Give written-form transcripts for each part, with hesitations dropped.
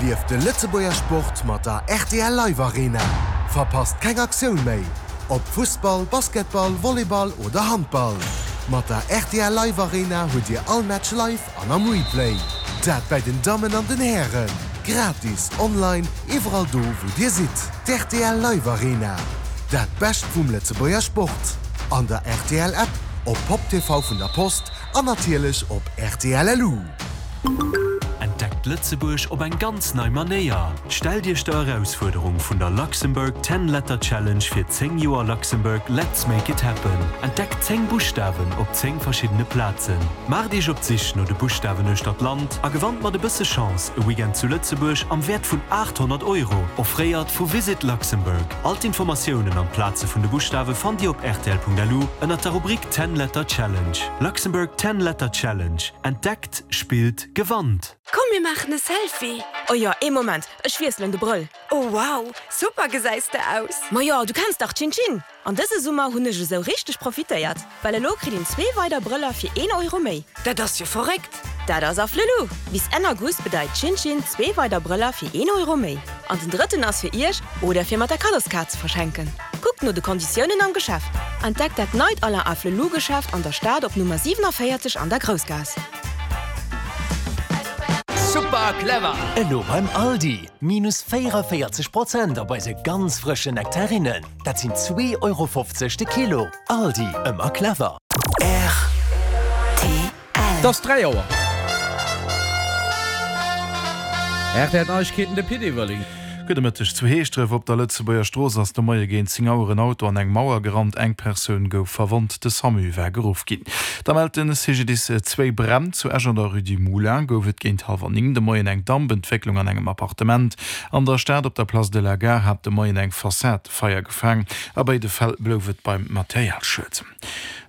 Erlieft de Lëtzebuerger Sport mat der rtl Live Arena. Verpasst keng Aktioun méi, ob Fussball, Basketball, Volleyball oder Handball. Mat der rtl Live Arena hutt Dir all Match live an am Replay. Dat bäi den Dammen an den Hären. Gratis, online, iwwerall do wou Dir sidd. D'rtl Live Arena, dat Bescht vum Lëtzebuerger Sport. An der rtl App, op Pop TV vun der Post an natierlech op rtl.lu. Entdeckt Lëtzebuerg op eng ganz nei Manéier! Stellt Iech der Erausfuerderung vun der Luxembourg Ten Letter Challenge fir 10 Joer Luxembourg Let's Make It Happen. Entdeckt 10 Buschtawen op 10 verschiddene Plazen. Maacht Iech op d'Sich no de Buschtawen uechter d'Land a gewannt mat e bësse Chance e Weekend zu Lëtzebuerg am Wäert vun 800 Euro, offréiert vu Visit Luxembourg. All d'Informatiounen an d'Plaze vun de Buschtawe fannt Dir op rtl.lu ënnert der Rubrik Ten Letter Challenge. Luxembourg Ten Letter Challenge, Entdeckt, spillt, gewannt! Komm mir maachen e Selfie! Oh jo, ee Moment, ech wiesselen de Brëll. Oh wow, super gesäis de aus! Majo, du kenns dach Chin Chin! An dëse Summer hunn ech esou richteg profitéiert, well elo kritt een zwee weider Brëller fir een Euro méi. Dat ass jo verréckt! Dat ass Afflelou! Bis Enn August bedeit Chin Chin zwee weider Brëller fir een Euro méi. An den drëtten ass fir iech oder fir mat der Kaddoskaart ze verschenken. Kuckt no de Konditiounen am Geschäft. Entdeckt dat neit Alain Afflelou Geschäft an der Stad op Nummer 47 an der Groussgaass. Super clever! Elo beim Aldi, minus 44 Prozent op eise ganz frëschen Nektarinnen. Dat sinn 2,50 Euro de Kilo. Aldi, ëmmer clever. Rtl. Et ass 3 Auer. Rtl Neiegkeeten, de Pit Everling. Gudde Mëtteg. Zu Heeschdref op der Lëtzebuerger Strooss ass de Moie géint 10 Auer en Auto an eng Mauer gerannt. Eng Persoun gouf verwonnt, de Samu war geruff ginn. Da mellt de CGDIS zwéi Bränn. Zu Esch an der Rue du Moulin gouf et géint hallwer 9 de Moien eng Dampentwécklung an engem Appartement. An der Stad op der Place de la Gare hat de Moien eng Fassad Feier gefaang. A béide Fäll blouf et beim Materialschued.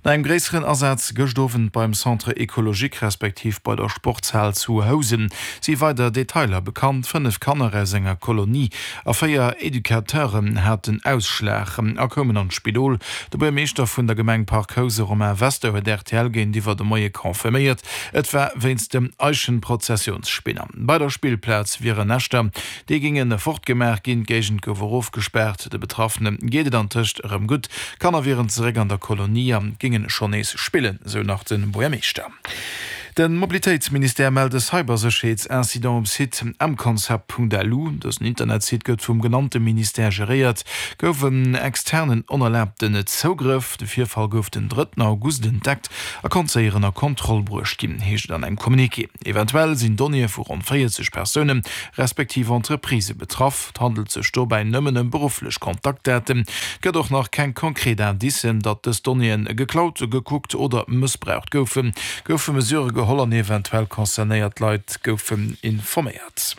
No engem gréisseren Asaz gëscht Owend beim Centre Ecologique respektiv bei der Sportshal zu Housen si weider Detailer bekannt. 5 Kanner aus enger Kolonie a 4 Educateuren haten Ausschlag a koumen an d'Spidol. De Buermeeschter vun der Gemeng Parc Housen, Romain Wester, huet rtl géintiwwer de Moie confirméiert, et war wéinst dem Eichenprozessionsspinner. Bei der Spillplaz wieren Näschter Déi géinge fortgemaach ginn. D'Géigend gouf och ofgespaart. De Betraffene geet et antëscht erëm gutt. D'Kanner wieren zeréck an der Kolonie a géinge schonn nees spillen, sou nach de Buergermeeschter. De Mobilitéitsministère mellt e Cybersécherheetsincident um Site mconcept.lu. Dësen Internetsite gëtt vum genannte Ministère geréiert. Gouf en externen onerlaabten Zougrëff. De Virfall gouf den drëtten August entdeckt a konnt séier ënner Kontroll bruecht ginn, heescht et an engem Communiqué. Eventuell sinn Donnéeë vu ronn 40 Persounen, respektiv Entreprisë betraff. Et handelt sech dobäi nëmmen ëm berufflech Kontaktdaten. Et gëtt och nach keng konkret Indicen, datt dës Donnéeë geklaut, gekuckt oder mëssbraucht goufen. Goufe Mesurë geholl an eventuell concernéiert Leit goufen informéiert.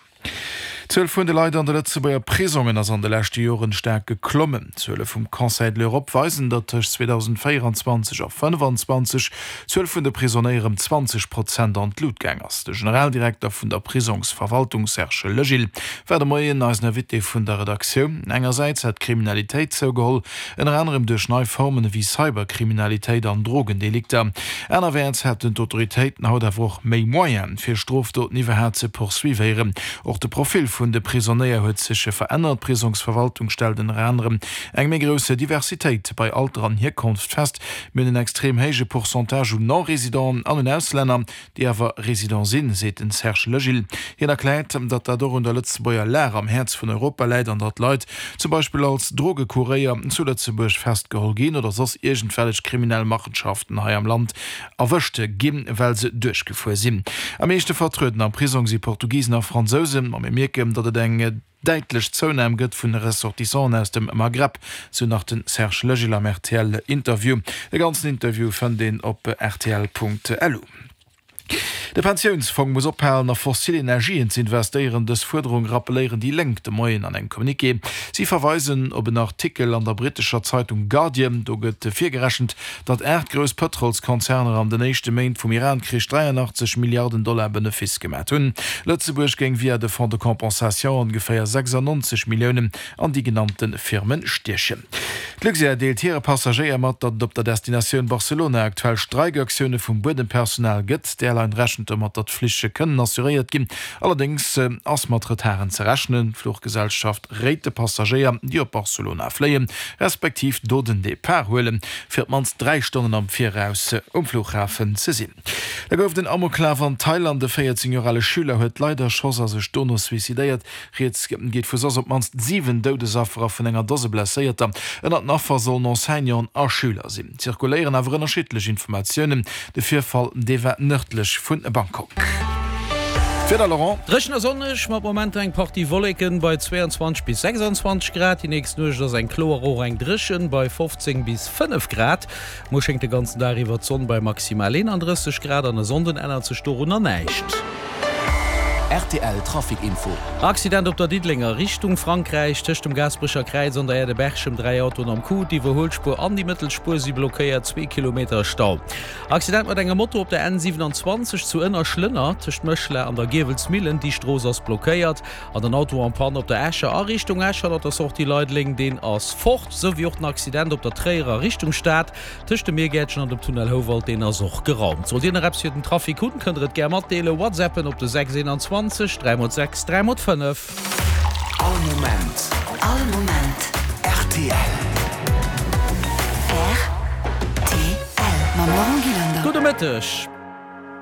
D'Zuel vun de Leit an de Lëtzebuerger Prisongen ass an de leschte Joren staark geklommen. D'Zuele vum Conseil de l'Europe weisen, datt tëscht 2024 a 2025 d'Zuel vun de Prisonéier ëm 20 Prozent an d'Lut gaang ass. De Generaldirekter vun der Prisongsverwaltung Serge Legil war de Moien eisen Invité vun der Redaktioun. Engersäits hätt d'Kriminalitéit zougeholl, Ënner anerem duerch nei Formen ewéi Cyberkriminalitéit an Drogendelikter. Anerwäerts hätten d'Autoritéiten haut awer och méi Moyene fir Strofdoten iwwerhaat ze poursuivéieren. Och de Profil vun de Prisonéier huet sech verännert. D'Prisongsverwaltung stellt ënner anerem eng méi grouss Diversitéit bei Alter an Hierkonft fest. Mir hunn en extrem héije Pourcentage un Non-Résidenten an un Auslänner, déi awer Résident sinn, seet den Serge Legil. Hien erkläert, datt dat och un der Lëtzebuerger Lag am Häerz vun Europa läit an datt Leit zum Beispill als Drogekuréier zu Lëtzebuerg festgeholl ginn oder soss iergendwellech kriminell Machenschaften hei am Land erwëscht ginn, well se duerchgefuer sinn. Am meeschte vertrueden am Prisong si Portugisen a Fransousen, ma mir mierken, datt et eng. Däitlech Zounam gëtt vun Ressortissanten aus dem Maghreb, sou nach den Serge Legil am RTL-Interview. De ganzen Interview fënnt een op rtl.lu. De Pensiounsfong muss ophalen a fossil Energien ze investéieren. Dës Fuerderung rappeléieren déi Lénk de Moien an engem Communiqué. Si verweisen op en Artikel an der brittescher Zeitung Guardian. Do gëtt virgerechent, datt 8 grouss Pëtrolskonzerner an den éischte Méint vum Iran-Krich 83 Milliarden Dollar Benefice gemat hunn. Lëtzebuerg géing via de Fonds de compensation ongeféier 96 Milliounen an déi genannte Firme stiechen. D'Luxair deelt hire Passagéier mat, datt et op der Destinatioun Barcelona aktuell Streikaktioune vum Buedempersonal gëtt. Airline rechent domat, datt d'Flich kënnen assuréiert ginn. Allerdéngs ass mat Retarden ze rechnen. D'Fluchgesellschaft réit de Passagéier, déi op Barcelona fléien, respektiv do den Depart huelen, fir op d'mannst 3 Stonnen am Viraus um Flughafen ze sinn. Da gouf et en Amoklaf an Thailand. E 14 Joer ale Schüler huet Leit erschoss a sech dono suicidéiert. Rieds geet vu soss op d'mannst 7 Doudesaffer a vun enger Dose Blesséierter. Ënnert den Affer sollen Enseignanten a Schüler sinn. Et zirkuléieren awer ënnerschiddlech Informatiounen. De Virfall, dee war nërdlech vu Bangkok. D'Wieder, Laurent. Dréchen a sonneg, mat Momenter eng Partie Wolleken bei 22 bis 26 Grad. Déi nächst Nuecht ass eng kloer, och eng dréchen bei 15 bis 5 Grad. Muer schéngt de ganzen Dag iwwer d'Sonn bei maximal 31 Grad an e Sonnden ännert sech dorunner näischt. Rtl Trafic Info. Accident op der Diddelenger Richtung Frankräich, tëscht dem Gaasperecher Kräiz an der Aire de Berchem, 3 Autoen am Coup, d'Iwwerhuelspuer an déi Mëttelspuer si blockéiert, zwee Kilometer Stau. Accident mat engem Moto op der N 27 zu Ënnerschlënner, tëscht Méchela an der Giewelsmillen, déi Strooss ass blockéiert. An den Auto en panne op der Escher a Richtung Esch hannert der Sortie Leideleng, deen ass fort, sou wéi och den Accident op der Tréierer a Richtung Stad tëscht dem Miergäertchen an dem Tunnel Houwald, deen ass och geraumt. Sollt Dir nach eppes fir den Trafic hunn, kënnt der et gär matdeelen, WhatsAppen op de 6 21 3 x 6 3 x 5. All Moment. All Moment. Rtl. Rtl. Mam Laurent Gillander. Gudde Mëtteg.